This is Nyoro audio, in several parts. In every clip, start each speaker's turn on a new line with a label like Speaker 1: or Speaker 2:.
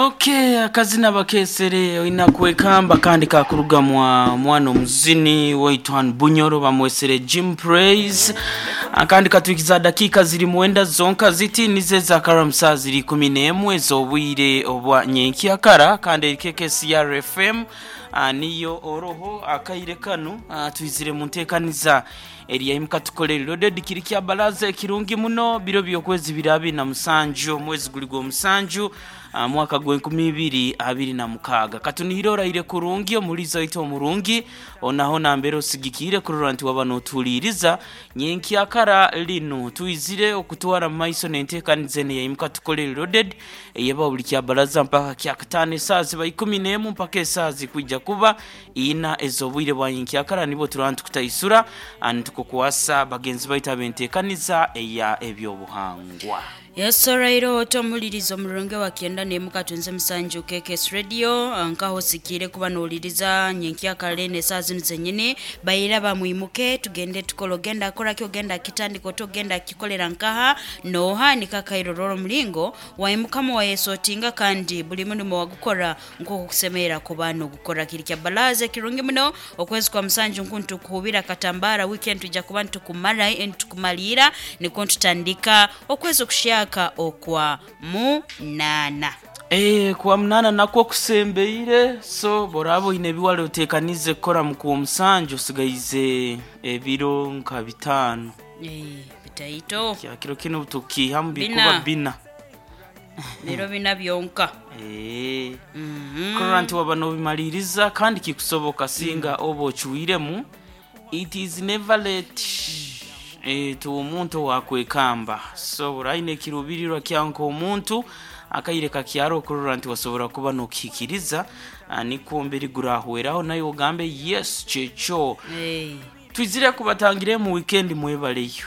Speaker 1: Okay, akazina bakesere oina kwekamba kandi kakuruga mwa mwana omuzini waitu hanu Bunyoro bamwesere Jim Praise. Akandi katwikiza dakika ziri mwenda zonka ziti nize za karamsa ziri 11 z'obwire obwa nyenkyakara kandi erikeke CRFM niyo oroho akaire kanu twizire mu nteekaniza eriyaimuka tukolere loaded kiri kya balaza ekirungi muno biro by'okwezi biri 27 omwezi guli gw'omusanju mwaka gwa 2026. Katunihire oraire kurungi omulizo waitu omurungi onaho nambere osigikire kurora nti waba notuhuliriza nyenkyakara linu twizire okutwara mu maiso n'enteekaniza eno eyaimuka tukolere loaded eyeba buli kya balaza mpaka kyakataano esaaha ziba 11 mpaka esaaha zikwija kuba ina ez'obwire bwa nyenkyakara nibo turaba nitukutaisura nitukukwasa bagenzi baitu ab'enteekaniza eya ebyobuhangwa.
Speaker 2: Yes, orairo otomuliriza omurungi wa 97 KKS Radio nkaho sikire kuba nowuliriza nyenkyakare n'esaaha zinu zenyini baira bamwimuke tugende tukole ogenda akoraki ogenda akitandika oti ogenda akikolera nkaha noha nikakairo roro omulingo waimukamu wayesotinga kandi buli mulimo wagukora nk'oku kusemerera kuba nogukora. Kiri kya balaza ekirungi muno okwezi kwa musanju nku ntukuhubira katambara weekend tujja kuba ntukumara ntukumalira nikwo ntutandika okwezi okushaka okwa munana.
Speaker 1: Kwa munana nakwo kusembeire, so boraba oine ebiwale oteekanize kukora mu kwomusanju osigaize ebiro nka 5.
Speaker 2: Bitaito.
Speaker 1: Kya kiro kinu tukiihamu bikuba
Speaker 2: Bina.
Speaker 1: bina.
Speaker 2: Biro bina byonka.
Speaker 1: Kurora nti waba nobimaliriza kandi kikusoboka singa oba ocuiremu. It is never late. Tu omuntu owakwekamba so oraine ekiruubirirwa kyawe nk'omuntu akaire kakyaro okurora nti wasobora kuba nokihikiriza nikwo mberi gurahweraho naye ogambe yes kyekyo. Twizire kubatangire mu weekend mwebaleyo.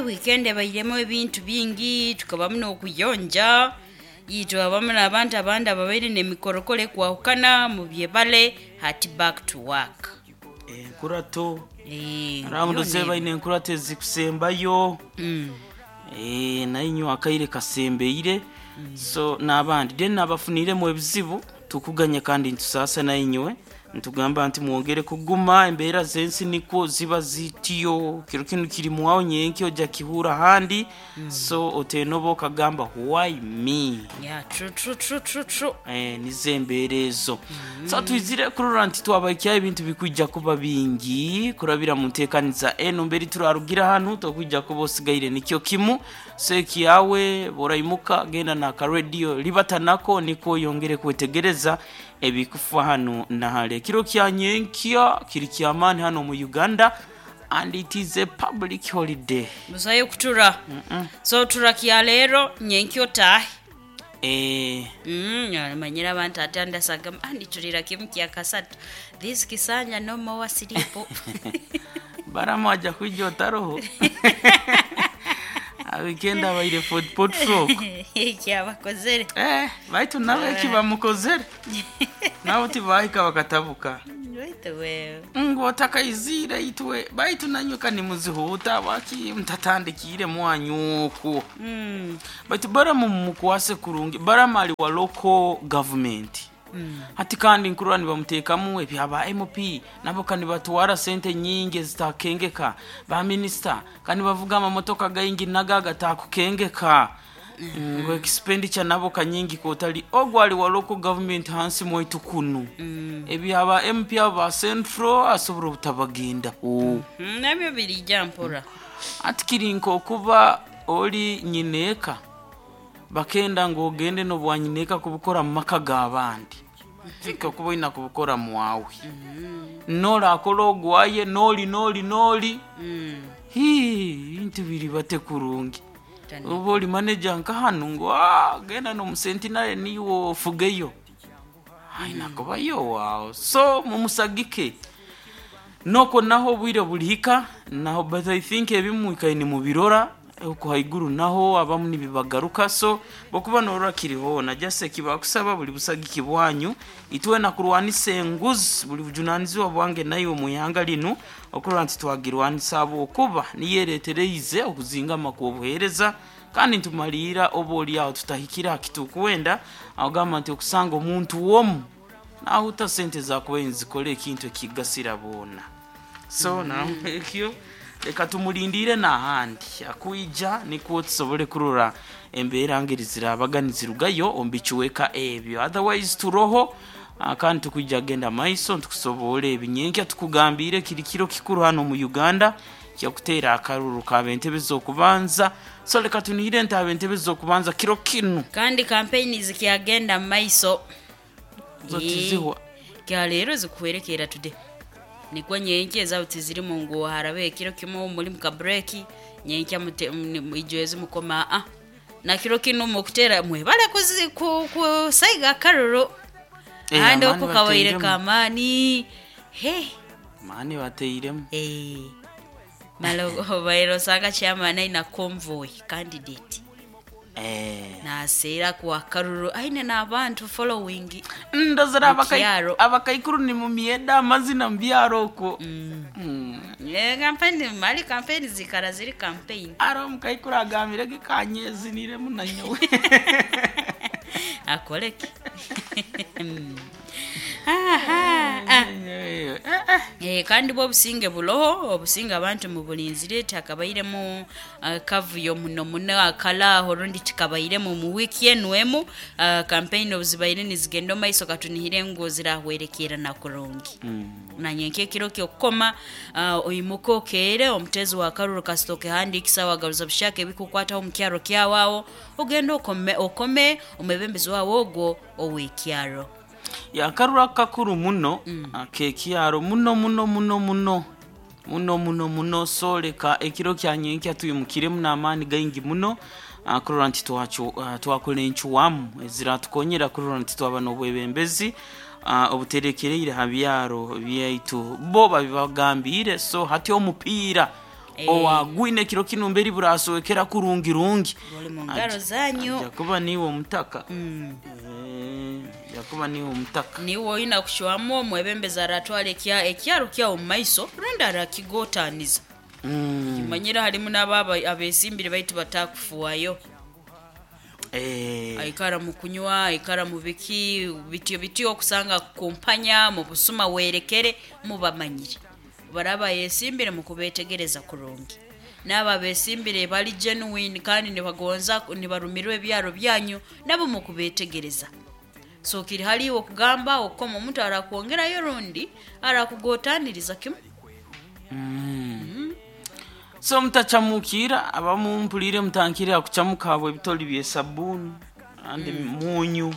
Speaker 2: Weekend ebairemu ebintu bingi tukabamu n'okuyonja itwe abamu n'abantu abandi ababaire n'emikorokoro ekwahukana mubyebale hati back to work.
Speaker 1: Enkurato ramundo zebaine enkurato ezikusembayo. Nainywe akaire kasembeire so n'abandi then nabafuniremu ebizibu tukuganya kandi ntusaasa nainywe ntugamba nti mwongere kuguma embeera z'ensi nikwo ziba zitiyo kiro kinu kiri mwawo nyenki ojja kihura handi so oteenoba okagamba why me.
Speaker 2: Yeah, true, true, true, true, true.
Speaker 1: Nizo embeera ezo. So twizire kurora nti twabaikyaho ebintu bikwija kuba bingi kurabira mu nteekaniza eno mberi turarugira hanu tokwija kuba osigaire nikyo kimu so ekiyawe boraimuka genda n'aka radio libatanako nikwo oyongere kwetegereza ebikufa hanu nahale. Ekiro kya nyenkya kiri kyamaani hano mu Uganda and it is a public holiday.
Speaker 2: Busayo kutura. So tura kya leero nyenkya otaahe. Manyire abantu ate andasagamba nditurira kimu kya kasatu this kisanja no more sleep.
Speaker 1: Baramu aja kwija otaroho. Weekend abaire Fort Portal.
Speaker 2: Ekyabakozere.
Speaker 1: Baitu nawe eki bamukozere nabo tibahika bakatabuka.
Speaker 2: Baitu wewe.
Speaker 1: Ngu otakaizire itwe baitu nanywe kanimuzihuta waki mtatandikire mwanyu okwo. Baitu baramu mumukwase kurungi baramu ali wa local government. Hati kandi nkurora nibamuteekamu ebyaba MP nabo kandi batwara sente nyingi ezitakengeka ba minisita kandi bavuga amamotoka gaingi nago agatakukengeka ngu expenditure nabo kanyingi kotali ogwo ali wa local government hansi mwaitu kunu. Ebyaba MP abo ba central asobora obutabagendaho.
Speaker 2: Nabyo birija mpora.
Speaker 1: Ati kiri nk'okuba oli nyineeka bakenda ngu ogende n'obwa nyineeka kubukora mu maka g'abandi tika okuba oina kubukora mwawe. Norakora ogwaye noli noli noli. Hii bintu biri bate kurungi. Oba oli manager nka hanu ngu genda n'omusentinare niiwe ofugeyo aina kubayo waawe so mumusagike noko naho obwire bulihika naho but I think ebimu ikaye nimubirora oku haiguru naho abamu nibibagaruka so bokuba norora kiriho na just ekibakusaba buli busagiki bwanyu itwena kurwanisa enguzi buli bujunanizibwa bwange naiwe mu ihanga linu okurora nti twagirwanisa habwokuba niyo eretereize okuzingama kw'obuheereza. Kandi ntumaliira oba oli aho tutahikire aha kitukwenda, agamba nti okusanga omuntu womu nahuta sente zakubaire nizikora ekintu ekigasira boona. So naekyo reka tumulindire n'ahandi akwija, nikwo tusobole kurora embeera ngeri zirabaga nizirugayo omu bicweka ebyo. Otherwise turoho, kandi tukwija genda maiso ntukusobora ebinyenkya tukugambire kiri kiro kikuru hano mu Uganda kyakuteera akaruru kaba entebe z'okubanza. So reka tunihire nti aba entebe z'okubanza kiro kinu.
Speaker 2: Kandi kampeyini zikyagenda mu maiso.
Speaker 1: Zo tizihwa.
Speaker 2: Kya leero zikuhwerekera today, nikwo nyenkya ezabo tizirimu ngu harabe ekiro kimu muri muka break, nyenkya ijwezi mukoma a na kiro kinu mukutera mwebale kusaiga akaruru. Ahandi
Speaker 1: Amaani
Speaker 2: oku kabaire
Speaker 1: bateiremu.
Speaker 2: Kamaani he.
Speaker 1: Maani bateiremu.
Speaker 2: Mara obaire osanga chairman aina convoy candidate naseera kuwa akaruru aine n'abantu following.
Speaker 1: Ndozera.
Speaker 2: Mukyaro.
Speaker 1: Abakaikuru ni mumyeda amazina mubyaro okwo.
Speaker 2: Kampeni mali kampeni zikara ziri campaign.
Speaker 1: Ari omukaikuru agambire ge kanyeziniremu nanyowe.
Speaker 2: Akoleke. Aha, ah. Kandi bwo obusinge buloho, obusinge abantu mubulinzire takabairemu kavuyo muno muno akalaho rundi tikabairemu mu wiki enu emu, campaign obuzibaire nizigenda omu maiso. Katunihire ngu zirahwerekera na kurungi nanye nk'ekiro kyokukoma, oimuke okeere omutezi wa karuru kasita okehandiikisa wagaruza bushaka ebikukwataho omu kyaro kyawawo, ogende okome, okome omwebembezi wawe ogwo ow'ekyaro.
Speaker 1: Yakarura kakuru muno akekyaro muno muno muno muno muno muno muno. So leka ekiro kya nyenkya tuyimukiremu n'amaani gaingi muno, kurora nti twakora encuwamu eziratukonyera kurora nti twaba n'obwebembezi obuterekereire ha byaro byaitu bo babibagambire. So hati omupiira owagwine ekiro kinu mberi burasowekera kurungi rungi.
Speaker 2: Guli mu ngaro zanyu.
Speaker 1: Ajja kuba niwe omutaka. Ajja kuba niwe omutaka.
Speaker 2: Niwe oyina kushwamu omwebembezi aratwara ekyaro kyawo omu maiso rundi arakigotaniza. Kimanyire harimu n'abo abesimbire baitu batakufuayo. Aikara mu kunywa, aikara mu biki bityo bityo, okusanga kumpanya mu busuma werekere mubamanyire baraba yesimbire mukubetegereza kurungi, n'abo abesimbire bali genuine kandi nibagonza nibarumirwa ebyaro byanyu nabo mukubetegereza. So kiri haliwo okugamba okukoma omuntu arakwongerayo rundi arakugotaniriza kimu.
Speaker 1: So mutacamukira abamu mpulire mutankire akucamuka habwe ebitoli byesabuni andi munyu.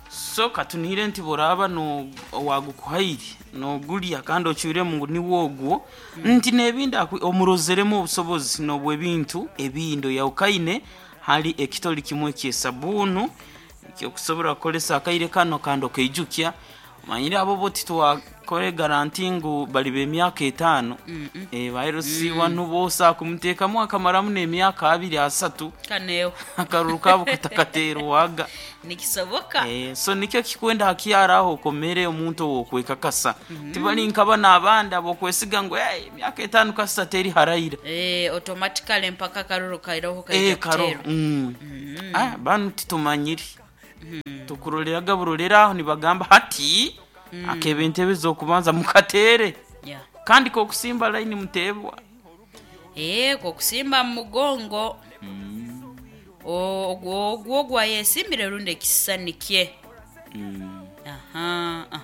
Speaker 1: So katunihire nti boraba no wagukuhaire nogulya kandi ocwiremu ngu niwe ogwo nti n'ebindi omurozeremu obusobozi n'obwebintu ebindi oyawukaine hali ekitoli kimwe kyesabunu ekyokusobora kukolesa akaire kano. Kandi okaijukya manyire abo bo titwakore garanti ngu bali b'emyaka 5. Bairosiwa nubosa kumuteekamu akamaramu n'emyaka 2, 3.
Speaker 2: Kaneho.
Speaker 1: Akaruru kabo katakaterwaga.
Speaker 2: Nikisoboka.
Speaker 1: So nikyo kikwenda hakyaraho okomere omuntu owokwekakasa tibali nkaba n'abandi abokwesiga ngu hey, emyaka 5 kasita teri haraira.
Speaker 2: Automatically mpaka karuru kairoho kaija
Speaker 1: karo
Speaker 2: kuterwa.
Speaker 1: Ah, banu titumanyire tukuroleraga burolera aho nibagamba hati akeba entebe z'okubanza mukatere. Kandi kokusimba layini mutebwa.
Speaker 2: Kokusimba mu mugongo ogwo ogwo gwayesimbire rundi ekisisani kye. Aha, ah.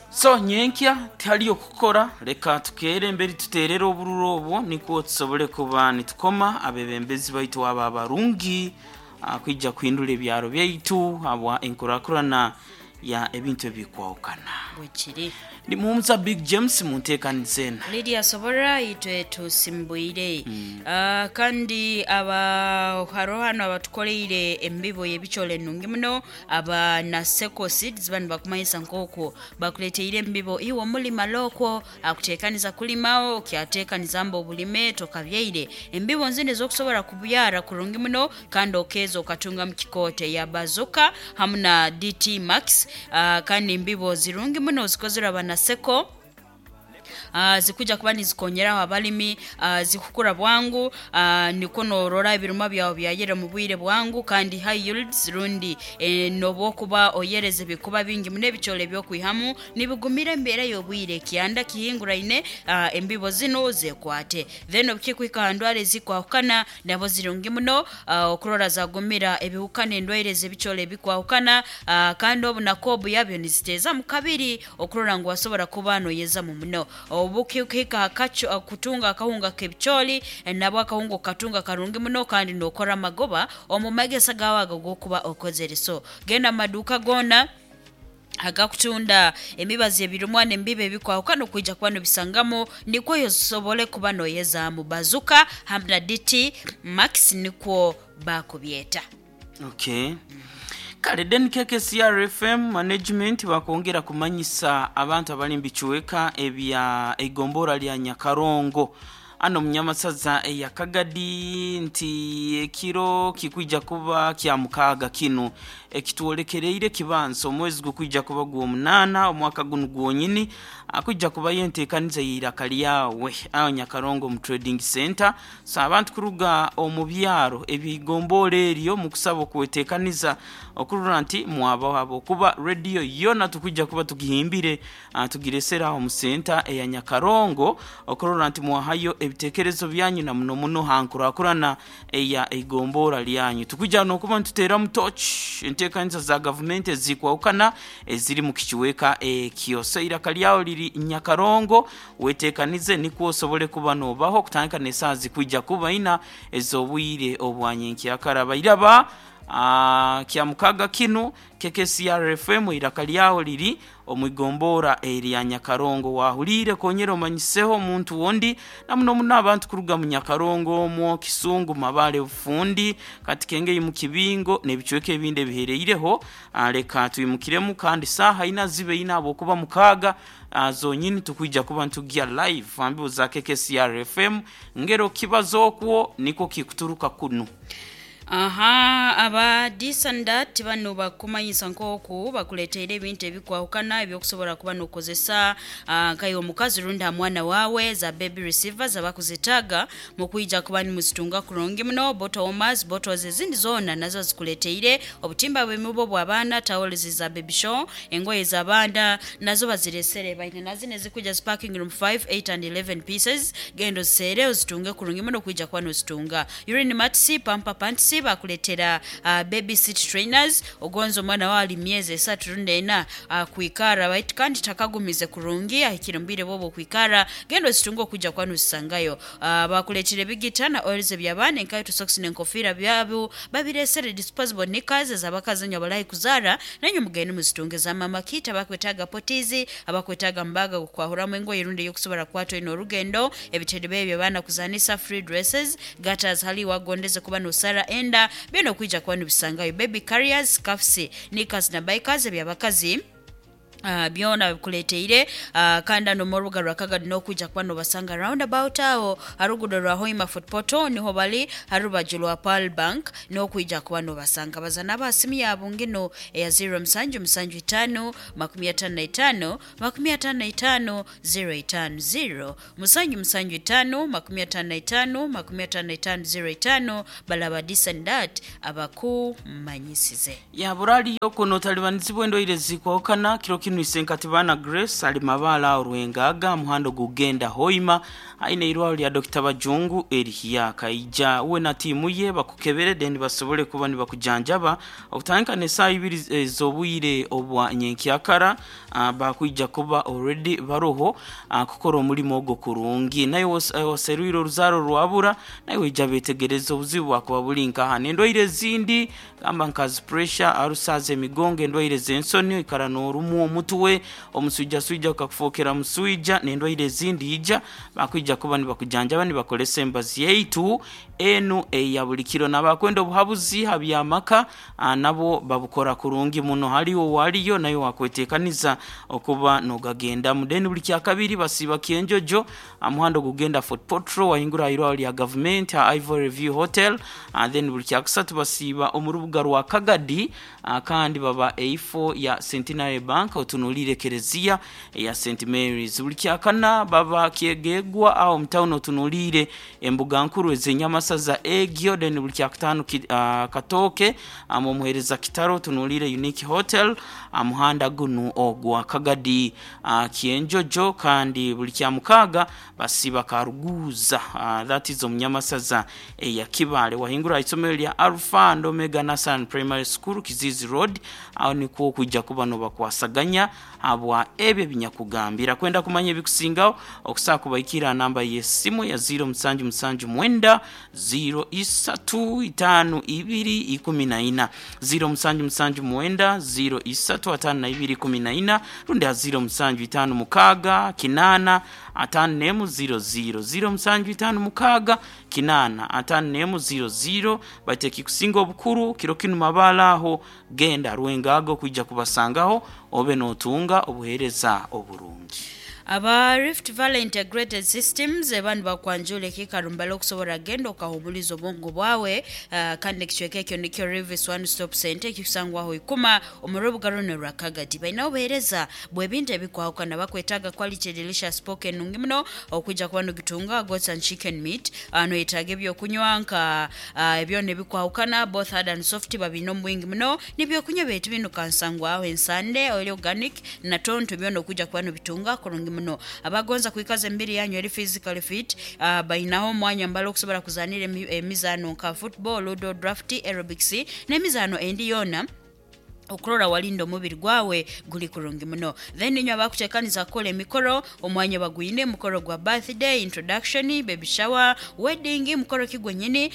Speaker 1: So nyenkya tihaliyo kukora, reka tukere emberi tuterere obururu obwo nikwo tusobole kuba nitukoma abebembezi baitu aba abarungi, kwija kuhindura ebyaro byaitu habwa enkurakurana ya ebintu ebikwawukana.
Speaker 2: Bwekiri.
Speaker 1: Ndi muhumuza Big James munteekaniza ena.
Speaker 2: Lydia Sobora itwe tusimbuire. Kandi aba haro hano abatukoleire embibo y'ebikyole nungi muno aba Naseko Seeds bano bakumanyisa nk'okwo bakuleteire embibo iwe omulima lokwo akuteekaniza kulimawo kyateekaniza mba obulime tokabyaire embibo nzindi ez'okusobola kubyara kurungi muno kandi okeeza okatunga mu kikoote ya Bazuka hamu na DT Max, kandi embibo zirungi muno zikozerwe aba Naseko. Zikuja kuba nizikonyeraho abalimi, zikukura bwangu, niko norora ebirima byawe byayera mu bwire bwangu kandi high yields rundi nobwokuba oyereze bikuba bingi muno. Ebichole ebyokwihamu nibigumira embeera y'obwire, kyanda kihinguraine, embibo zino zekwate. Then obukikuhika ha ndwara ezikwahukana, nabo zirungi muno, okurora zagumira ebihuka n'endwaire z'ebichole ebikwahukana, kandi obunaku yabyo niziteezamu kabiri okurora ngu wasobora kuba noyezamu muno. Obukikuhika hakacho kutunga akahunga k'ebicholi, nabwo akahunga okatunga karungi muno kandi nokora amagoba omu magesa gawe ago gokuba okozere. So genda mu maduuka goona agakutunda emibazi ebirumwa n'embibo ebikwahukana, okwija kuba nobisangamu, nikwo osobole kuba noyezaamu. Bazuka hamu na DT Max nikwo bakubyeta.
Speaker 1: Okay. Kale then KKCR FM management bakwongera kumanyisa abantu abali mubicweka ebya eigombora lya Nyakarongo ano munyamasaza eya Kagadi nti ekiro kikwija kuba kya mukaaga kinu ekitwolekereire kibanza omwezi gukwija kuba gw'omunaana omwaka gunu gwonyini, akwija kubayo enteekaniza y'eiraka lyawe aho Nyakarongo mu trading center. So abantu kuruga omu byaro eby'eigombora eryo mukusaba okweteekaniza okurora nti mwabaho, habwokuba rediyo yona tukwija kuba tugihimbire, tugiresere aho mu center eya Nyakarongo okurora nti mwahayo ebitekerezo byanyu na muno muno ha nkurakurana eya eigombora lyanyu. Tukwija n'okuba nituteeramu torch enteekaniza za gavumenti ezikwahukana eziri mu kicweka ekyo. So eiraka lyawe liri Nyakarongo, weteekanize nikwo osobole kuba noobaho kutandika n'esaaha zikwija kuba ina ez'obwire obwa nyenkyakara. Bairaba kya mukaga kinu KKCR FM eiraka lyawe liri omu igombora erya Nyakarongo. Wahuliire konyera omanyiseho omuntu wondi, na muno muno abantu kuruga mu Nyakarongo omwo Kisungu, Mabale, Bufundi, kati Kengei mu Kibingo n'ebicweka ebindi ebihereireho. Leka twimukiremu kandi saaha ina zibe ina, habwokuba mukaaga zonyini tukwija kuba ntugya live ambibo za KKCR FM ngero kibazo okwo niko kikuturuka kunu.
Speaker 2: Aha, aba disandat bano bakumanyisa nk'oku bakuleteire ebintu ebikwahukana ebyokusobora kuba nokozesa, nkayo omukazi rundi ha mwana wawe, za baby receivers abakuzetaaga mukwija kuba nimuzitunga kurungi muno. Bottle warmers, bottles ezindi zoona nazo zikuleteire, obutimba bw'emibu bw'abaana, towels za baby show, engoye z'abaana nazo baziresere. Baine nazino ezikuja zi packing room 5, 8 and 11 pieces. Genda oziseere ozitunge kurungi muno kwija kuba nozitunga. Urine mats, pamper pants bakuletera, baby seat trainers, ogonza omwana wawe ali myezi 3 rundi 4 kwikara baitu kandi takagumize kurungi, ahikire mu bwire bwobu okwikara, genda ozitunge okwijja kuba nozisangayo. Bakuletera ebigita na oils eby'abaana, enkaito, socks n'enkofiira byabo babiresere, disposable knickers ez'abakazi enywe abalahi kuzaara, nanywe mugende muzitunge. Za mama kita abakwetaaga potizi, abakwetaaga mubaga gokwahuramu engoye rundi eyokusobora kukwata oine orugendo, ebitebe ebyo abaana kuzanisa, free dresses, gatters hali wagondeze kuba nosara enda, byona okwija kuba nibisangayo. Baby carriers, scarfs, knickers na bikers ebyabakazi, byona bikuleteire. Kandi ano mu rubuga rwa Kagadi n'okwija kuba nobasanga roundabout aho harugudo rwa Hoima Fort Portal niho bali, harubaju rwa Pearl Bank n'okwija kuba nobasanga. Baza n'abasimu yabo ngino eya 0775 55 55 050, 775 55 55 05. Balaba disandat abakumanyisize.
Speaker 1: Yaburaliyo kuno talibanizibwa endwaire zikwahukana. Kiro kinu isenkati bana Grace ali Mabaala aho Rwengaga, muhando gugenda Hoima, aine irwaro lya Dr. Bajungu erihya kaija uwe na tiimu ye bakukebere then basobole kuba nibakujanjaba okutandika n'esaaha ibiri ez'obwire obwa nyenkyakara. Bakwija kuba already baroho kukora omulimo ogwo kurungi. Naye waserwire oruzaaro rwabura, naye waija betegereza obuzibu bwakuba buli nkaha n'endwaire ezindi gamba nka zi pressure, arusaza emigongo, endwaire z'ensoni, oikara n'orumwa omutwe, omuswijaswija gukakufokera muswija n'endwaire ezindi, ija bakwija kuba nibakujanjaba nibakolesa embazi yaitu enu eya buli kiro. N'abakwenda obuhabuzi ha by'amaka, nabo babukora kurungi muno. Haliwo waliyo nayo wakwetekaniza okuba nogagendamu. Then buli kyakabiri basiiba Kyenjojo, muhando gugenda Fort Portal, wahingura irwaro lya gavumenti ha Ivory View Hotel. Then buli kyakusatu basiiba omu rubuga rwa Kagadi, kandi baba eifo ya Centenary Bank. otunuliire ekereziya eya St Mary's. Buli kyakana baba kyegegwa aho omu town otunuliire embuga nkuru ez'enyamasaza egyo. Then buli kyakutaano Katooke omuheereza Kitaro otunuliire Unique Hotel aha muhanda gunu ogwa Kagadi Kyenjojo. Kandi buli kyamukaaga basiiba Karuguuza, that is omu nyamasaza eya Kibaale, wahingura aha isomero lya Alpha and Omega Nursery Primary School, Kiziizi Road. Aho nikwo okwija kuba nobakwasaganya habwa ebyo ebinyakugambira. Kwenda kumanya ebikusingaho, okusobola kubaikirra aha namba y'esimu ya 0779 03 52 14, 0779 03 52 14, rundi ha 0756 8 51 00, 0756 8 51 00. Baitu ekikusinga obukuru kiro kinu Mabaale aho genda Rwengago kwija kubasangaho obe notunga obuheereza oburungi.
Speaker 2: Aba Rift Valley Integrated Systems eba nibakwanjura ekiikaro mbali okusobora kugenda okahumuliza obwongo bwawe, kandi ekicweka ekyo nikyo Rivis One Stop Center ekikusangwaho Ikuma omu rubuga runo rwa Kagadi. Bainaho obuheereza bw'ebintu ebikwahukana. Bakwetaaga quality delicious pork enungi muno okwija kuba nogitunga, goats and chicken meat. Noyetaaga ebyokunywa nka ebyona ebikwahukana, both hard and soft, babiine omu bwingi muno. N'ebyokunywa byaitu binu kansangwaho ensande, oil organic na tonto, byona okwija kuba nobitunga kurungi muno. Abagonza kwikaza emibiri yanyu eri physically fit, bainaho omwanya mbali okusobora kuzanira emizaano nka football, ludo, draft, aerobics n'emizaano endi yoona okurora walinda omubiri gwawe guli kurungi muno. Then inywe abakutekaniza kukora emikoro, omwanya bagwine, mukoro gwa birthday, introduction, baby shower, wedding, mukoro ki gwenyini,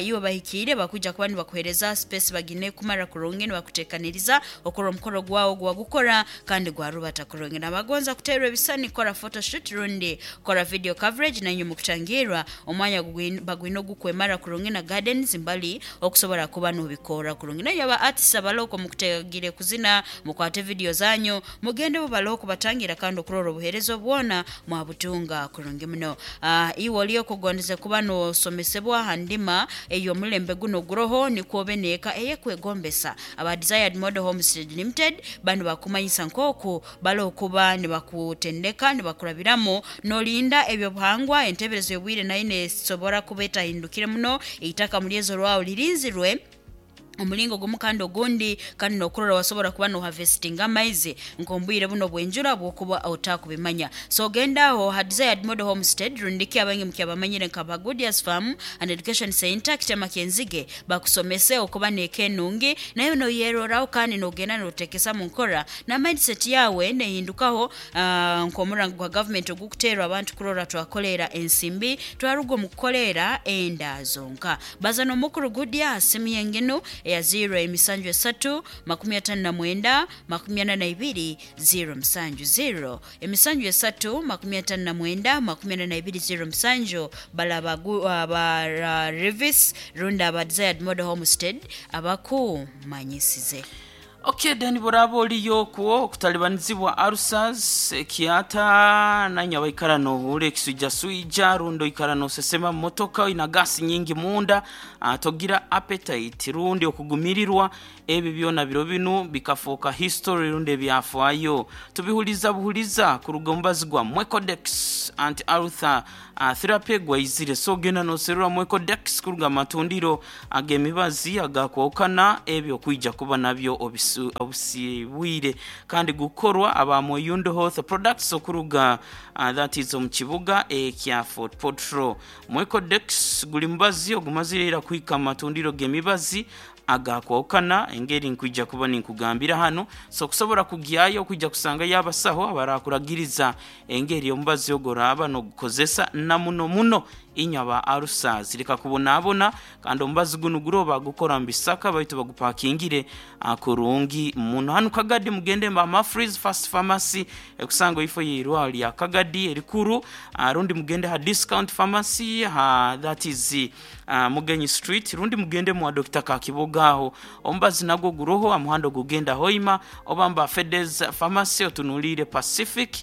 Speaker 2: iwe bahikiire bakwija kuba nibakuhereza space bagine kumara kurungi nibakutekaniriza okora omukoro gwawe gwagukora kandi gwarubata kurungi. Nabagonza kuterwa ebisani, kora photoshoot rundi kora video coverage, nainywe mukutangirwa omwanya bagwine ogukwemara kurungi na gardens mbali okusobora kuba nobikora kurungi. Nainywe aba artists abaloko mukutegire kuzina, mukwate video zanyu mugende bo batangira kandi okurora obuheereza obwona mwabutunga kurungi muno. Iwe oli okugondeze kuba nosomesebwa ha ndima ey'omulembe guno guroho nikwo obe neeka eyekwegombesa, aba Desired Model Homestead Limited banu bakumanyisa nk'oku bali okuba nibakutendeka nibakurabiramu nolinda ebyobuhangwa. Enteberezo y'obwire nayo nesobora kuba etahindukire muno, eitaka mulyezo rwawe lirinzirwe omulingo gumu kandi ogundi, kandi nokurora wasobora kuba no harvestinga amaizi nk'ombwire buno bw'enjura bwokuba otakubimanya. So genda aho ha Desired Model Homestead, rundiki abangi mukyabamanyire nka ba Goodias Farm and Education Center, Kitema Kyenzige, bakusomese okuba neeka enungi nayo noyeroraho kandi nogenda notekesa mu nkora na mindset yawe nehindukaho, nk'omurango gwa government ogukuteerwa abantu kurora twakolera ensimbi, twaruga omu kukolera enda zonka. Baza n'omukuru Gudia ha simu yenginu eya 0 emisanju esatu 59 42 0 7, 0 emisanju esatu 59 42 0 7. Balaba aba Revis rundi aba Desired Model Homestead abakumanyisize.
Speaker 1: Okay, then buraba oliyo okwo okutalibanizibwa ulcers, ekyata, nanye abaikara nohura ekiswijaswija, rundi oikara nosesema mu motoka, oina gasi nyingi munda, togira appetite rundi okugumirirwa, ebyo byona biro binu bikafuuka history rundi ebyafaayo. Tubihuliza buhuliza kuruga omubazi gwa Mwecodex anti ulcer therapy gwaizire. So genda noserura Mwecodex kuruga amatundiro ag'emibazi agakwahukana, ebyo okwija kuba nabyo obisibwire, kandi gukorwa aba Mweyundo Health Products okuruga that is omu kibuga ekya Fort Portal. Mwecodex guli mubazi ogumazire ira kuhika mu matundiro g'emibazi agakwahukana engeri nkwija kuba ninkugambira hanu. So okusobora kugyayo okwija kusangayo abasaho abarakuragiriza engeri omubazi ogwo oraaba nogukozesa, na muno muno inywe aba ulcers, leka kubonabona. Kandi omubazi gunu guro bagukora mu bisaka baitu bagupakingire kurungi muno. Hanu Kagadi mugende mba Mafreeze Fast Pharmacy ekusanga ifo y'eirwaro lya Kagadi erikuru, rundi mugende ha Discount Pharmacy ha that is Mugenyi Street, rundi mugende mwa Dr. Kakiboga aho omubazi nagwo guroho amuhanda gugenda Hoima, oba mba Fedes Pharmacy otunulire Pacific,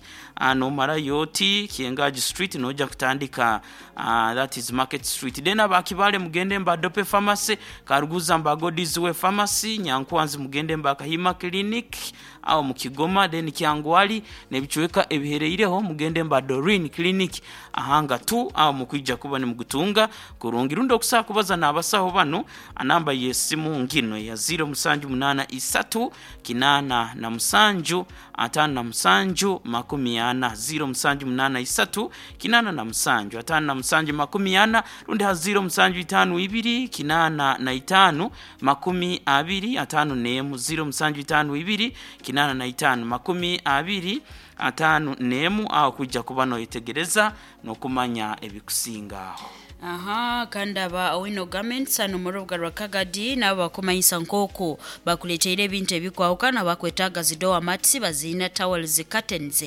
Speaker 1: nomara yoti Kiengaji Street noja kutandika, that is Market Street. Then abakibale mugende mba Dope Pharmacy, Karuguza mba Godizwe Pharmacy, Nyankwanzi mugende mba Kahima Clinic aho mukigoma, then Kyangwali nebichweka ebihereireho mugende mba Doreen Clinic ahanga tu aho mukwija kuba nimugutunga kurungi. Rundi okusaa kubaza n'abasaho bano, anamba yesimu ngino ya 0783 87 57 40, 0783 87 57 40, rundi ha 0752 85 20 51, 0752 85 20 51, aho kujja kuba noyetegereza nokumanya ebikusingaho.
Speaker 2: Aha, kandi aba Owino Garments hano mu rubuga rwa Kagadi nabo bakumanyisa nk'oku bakuleteire ebintu ebikwahukana. Bakwetaaga zidoa mats, baziina towels, curtains,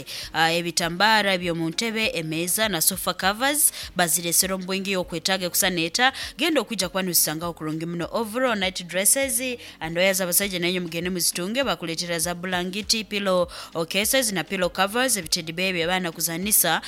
Speaker 2: ebitambara by'omu ntebe, emeeza na sofa covers, baziresera omu bwingi. Okwetaaga ekusaneeta genda okwija kuba nizisangaho kurungi muno. Overall night dresses, andoya z'abasajja nanyo mugende muzitunge. Bakuleetera za bulangiti, pillow cases na pillow covers, ebitedi bebi abaana kuzanisa,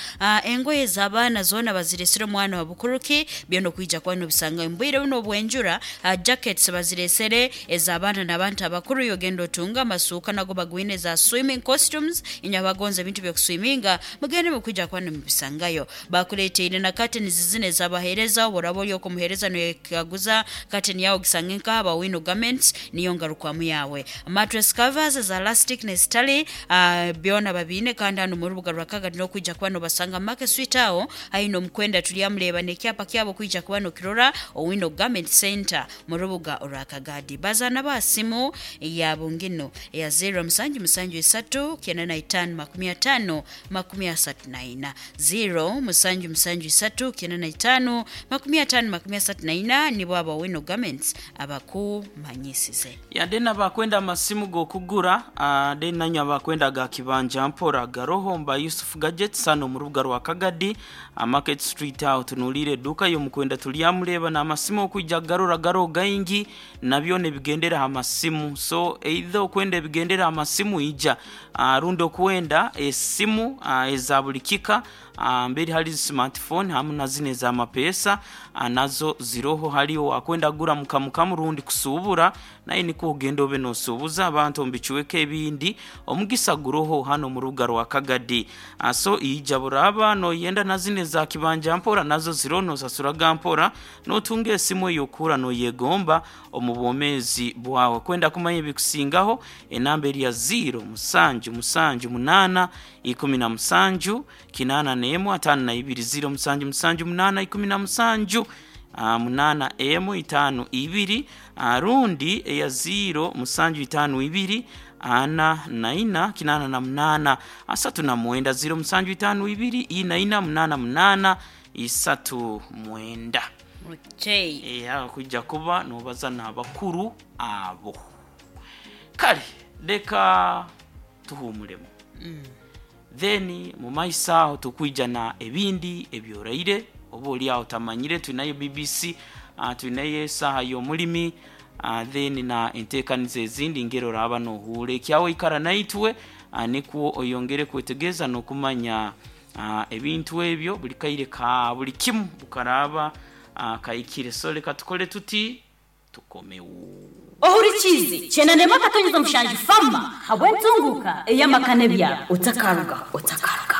Speaker 2: engoye z'abaana zoona baziresera omwana wa bukuruki, byona okwija kuba nobisanga mbwire buno obwenjura. Jackets baziresere ez'abaana n'abantu abakuru, yogenda otunga. Amasuuka nago bagwine, za swimming costumes, inywe abagonza ebintu byokuswiminga mugende mukwija kuba nimubisangayo. Bakuleteire na curtains zine ez'abaheereza, oboraba ori okumuheereza noyekaguza curtain yawe ogisange nk'aba Wino Garments, niyo ngarukwamu yawe. Mattress covers za elastic nezitali, byona babiine. Kandi hano mu rubuga rwa Kagadi n'okwija kuba nobasanga Market Street aho haino omukwenda tulyamureba n'ekyapa kyabo kwija kuba nokirora, Owino Garment Center mu rubuga orwa Kagadi. Bazaana basimu yabo ngino eya 0773 95 50 34, 0773 95 50 34, nibo aba Owino Garments abakumanyisize.
Speaker 1: Yade nabakwenda amasimu gokugura, then nanyo abakwenda ga kibanja mpora garoho mba Yusuf Gadgets hano mu rubuga rwa Kagadi, Market Street aho tunulire duka yo mukwenda tulyamureba n'amasimu okwijja garora garo gaingi nabyo nebigendera amasimu. So either okwenda ebigendera amasimu ija, rundi okwenda esimu eza buli kika, mberi hali smartphone hamu na zine za mapesa, nazo ziroho. Haliyo akwenda gura mukamukamu rundi kusubura naye niko ogenda obe nosubuza abantu mbicuweko ebindi, omugisa guroho hano mu rubuga rwa Kagadi. So ija buraba noyenda na zine za kibanja mpora nazo ziroho, nosasuraga mpora notunga esimu eyokura noyegomba omu bwomezi bwawe. Kwenda kumanya ebikusingaho, enamba eri ya 0 7 7 8 17 81 52, 0 7 7 8 17 8 emu 5 2, rundi eya 0 7 5 2 4 4 8 8 39, 0 7 5 2 4 4 8 8 39.
Speaker 2: Okay.
Speaker 1: Kujja kuba nobaza n'abakuru abo. Kale leka tuhumulemu, then mu maiso aho tukwija na ebindi ebyoraire oba oli aho tamanyire. Tulinayo BBC, tulinayo esaaha y'omulimi, then na enteekaniza ezindi ngero oraba nohuura ekyawe. Ikara naitwe, nikwo oyongere kwetegereza n'okumanya ebintu ebyo buli kaire ka buli kimu bukaraba kaikire. So leka tukole tuti tukomewo.
Speaker 3: Ohurikize chenanema katonyeza mushanju fama habwentunguka eyamakane bya otakaruga otakaruga.